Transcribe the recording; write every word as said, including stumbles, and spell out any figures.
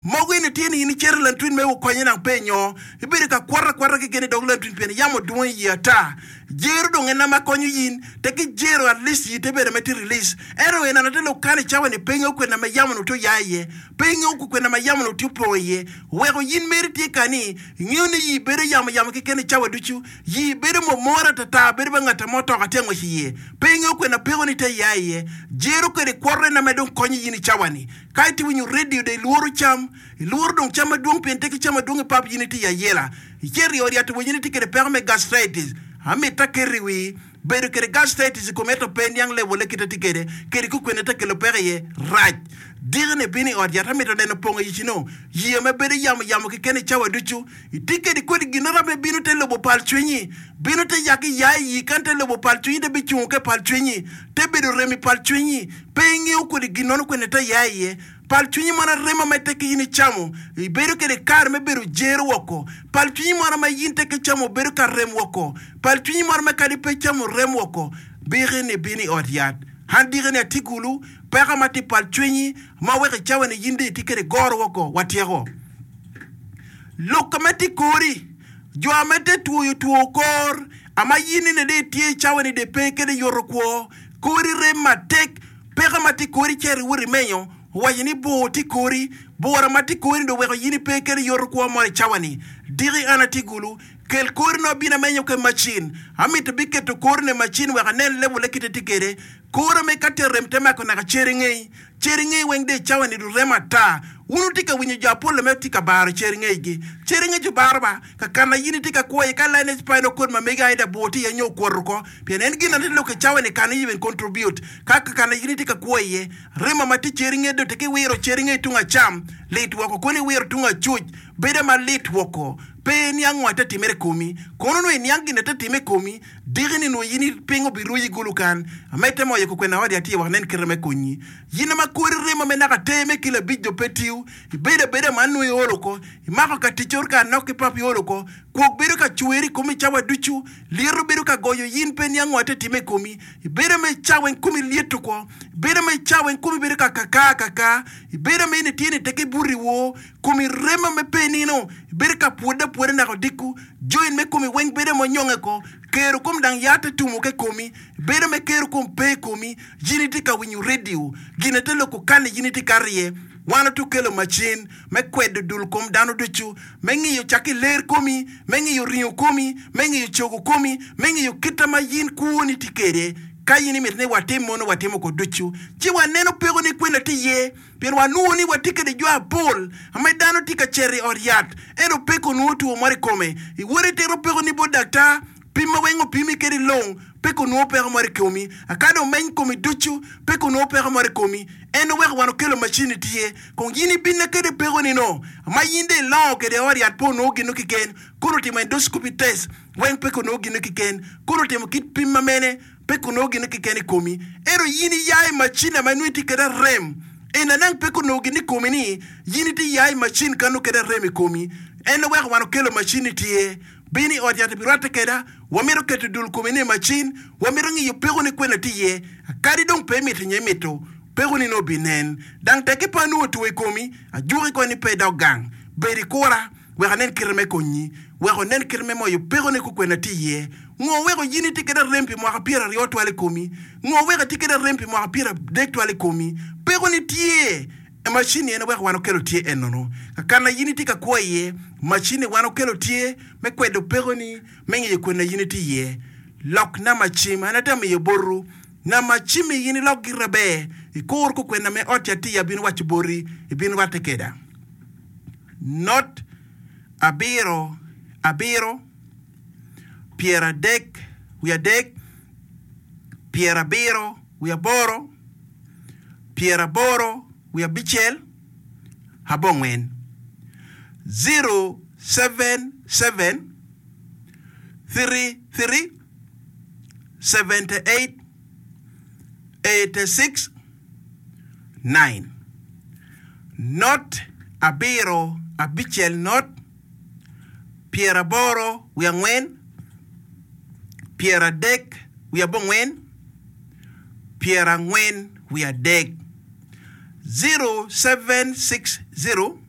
Mogo eni tye ni in icito i lantwin me wukonye nang pe inyo ibedo ka kwoto akwota keken i dog lantwin pien yamo dwong i yi ata. Jero dong en ma konyo yin tek ki jero at least yi te bedo me tye release. Ento en ate lok kan i cawa ni pe ingeyo kwena ma yamo ni tye oya iye, pe ingeyo kwena ma yamo ni tye opong iye. Weko yin meri tye kani ingeyo ni yi bedo yamo yamo keken i cawa ducu, yi bedo momora atata bedo ba ngat mo otoka tye angwec iye. Pe ingeyo kwena peko ni te ya iye. Jero kede kwoto en ma dong konyo yin i cawa ni. Ka itye winyo radio dong ilworo cam, ilworo dong cam madwong pien tye ki cam madwong i pap yin itye i ayela. Icito i od yat iwinyo ni itye kede peko me gastritis. Amito aketo i wii, bedo kede gastritis i komi ento pe iniang level-le kite tye kede, kede kukwene te kelo peko iye, rac. Diki-ni ibino i ot yat amito neno pongo ic no, yia me bedo yamo yamo keken i cawa ducu. Itye kede kodi ginora me bino te lobo pal cwinyi, bino te yak iya iyi kan te lobo pal cwinyi te bicungo ke pal cwinyi, te bedo rem i pal cwinyi. Pe ingeyo kodi ginono kwene te ya iye. Pal cwinyi mono arema ma ite ki in icamo, ibedo kede kare me bedo jero woko. Pal cwinyi mono ma in te ki camo bedo ka rem woko. Pal cwinyi mono ma kadi pe icamo rem woko. Biki ni bino i ot yat. An diki ni atye gulu, peko ma tye pal cwinyi ma weko icawa ni in dong itye kede goro woko, watyeko. Lok ma tye kori, jo ma te twoyo two kor, ama in nene dong itye icawa ni dong pe kede yoto kwo, kori rem matek, peko ma tye kori cito iwot imenyo, owaco ni bor tye kori, bora ma tye kori dong oweko in ipe kede yoto kwo mo i cawa ni. Diki an atye gulu, kel kori no abino amenyo ke macin. Amito biketo kori ne macin wek anen level-le kite tye kede. Kore me ka te rem te mako naka cer ingei. Cer ingei weng dong i cawa ni dong rem ata. Wun wutye ka winyo jo apol me tye ka baro cer ingei-gi. Cer ingei jo baro ba, ka kana in itye ka kwo iye ka line spinal cord ma megi aida bor tye iye nyo okwoto oko. Pien en gin na tye lok i cawa ni kana even contribute ka ka kana in itye ka kwo iye. Remo ma tye cer ingei dong tye ki wiro cer ingei tung acam lit woko kono iwiro tung acuc bedo ma lit woko. Pe iniang ngo ate timere i komi. Kono onongo iniang gin ate time i komi, diki ni nongo in i piny obiruyi gulu kan. Amedde mo aye kukwena odi atye wek anen kite me konyi. Yin ma kori remo me naka ter me kilo abic jo pe tiyo, ibedo abeda ma nongo iolo oko, imako ka tic or ka anok ki pap iolo oko, kwok bedo ka cweri i komi cawa ducu, lyeto bedo ka goyo yin pe niang ngo ate time i komi, ibedo me cawa in komi lyeto oko, ibedo me cawa in komi bedo ka kaka akaka, ibedo me in itye ni tek ibuto iwor, komi remo me pe nino, ibedo ka pwodde apwoda naka odiko, join me komi weng bedo ma onyonge oko, kero kom dang yat te tumo ke komi, bedo me kero kom pe i komi, yin itye ka winyo radio, gin te loko kani yin itye kato iye. Wan otu kelo macin me kwedo dul kom dano ducu, me ngiyo cak i ler komi, me ngiyo ringo komi, me ngiyo cogo komi, me ngiyo kita ma yin kwoni tye kede. Ka yin imito ni watim mono watimo ko ducu, ci waneno peko ni kwena tye iye. Pien wanwongo ni watye kede jo apol ma dano tye ka cito i ot yat, ento peko onwongo two moro i kome. Iwoto itito peko ni bot daktar, pim ma weng opimi kede long, peko onwongo peko moro i komi. Aka dong meny komi ducu, peko onwongo peko moro i komi. En oweko wan okelo macin tye. Kong in ibinna kede peko ni no, ma in dong ilongo kede i ot yat pe onwongo gino kiken, kono otimo endoscopy test weng peko onwongo gino kiken, kono otimo kit pim ma mene, Pe kunongo gin keken i komi, ento in iya i macin ma inongo itye kwede arem. En anang pe kunongo gin i komi ni in itye iya i macin ka nongo kwede arem i komi. En oweko wan okelo macin-ni tye. Bin i ot yat ibirwatte kweda. Wamito keto dul komi ni i macin. Wamito ngiyo pekoni kwene tye iye. Kadi dong pe imito nyo imito, pekoni nongo obinen. Dang tekke pe anongo two i komi, ajuki kong ni pe idok gang. Bed ikura. Wek anen kite me konyi, wek onen kite me moyo pekone kukwena tye iye. Ngo weko in itye kede arem pi mwaka pyeraryo twal i komi? Ngo weko itye kede arem pi mwaka pyeradek twal i komi? Pekoni tye e macin-ni en weko wan okelo tye enono. Kakana in itye ka kwo iye, macin-ni wan okelo tye me kwedo pekoni me ngeyo kwena in itye iye. Lok namba cim an atye miyo botwu. Namba cim-mi in ilok gire ber, ikur kukwena me ot ca tye abino waco boti, ibin rwatte keda. Not abiro abiro, pyeradek wiye adek, pyerabiro wiye aboro, pyeraboro wiye abicel, abongwen. Zero seven seven three three seventy eight eighty six nine Not abiro abicel not pyeraboro wiye angwen pyeradek wiye abongwen pyerangwen wiye adek zero seven six zero